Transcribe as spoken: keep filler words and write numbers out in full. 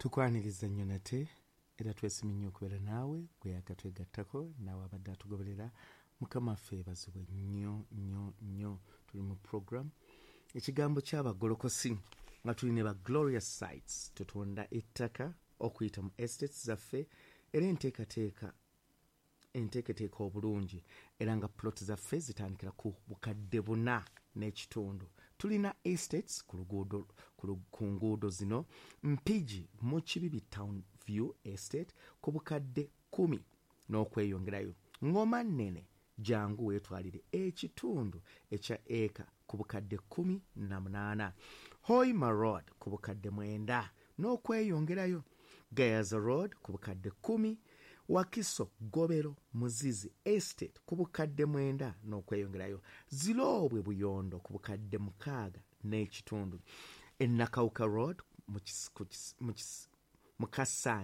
Tukwaniriza nnyo nate era twesimye nnyo okubeera naawe gwe yakatwegattako, naawe abadde atugoberera. Mukama waffe yeebazibwe nnyo nnyo nnyo. Tuli mu program Ekigambo Ky'Abagolokosi nga tuli ne ba Glorious Sites. Tutunda ettaka okuyita mu estates zaffe era enteekateeka enteeketeeka obulungi, era nga plot zaffe zitandikira ku bukadde buna n'ekitundu. Tulina estates ku luguudo ku nguudo zino: Mpigi mu Kibibi, Town View Estate ku bukadde kkumi n'okweyongerayo. Ngoma Nnene, jangu weetwalire ekitundu ekya eka ku bukadde kkumi na munaana. Hoima Road ku bukadde mwenda n'okweyongerayo. Gayaza Road ku bukadde kkumi. Wakiso Gobero Muzizi Estate ku bukadde mwenda n'okweyongerayo. Ziroobwe Buyondo ku bukadde mukaaga n'ekitundu. Enakawuka Road mu Kasanja.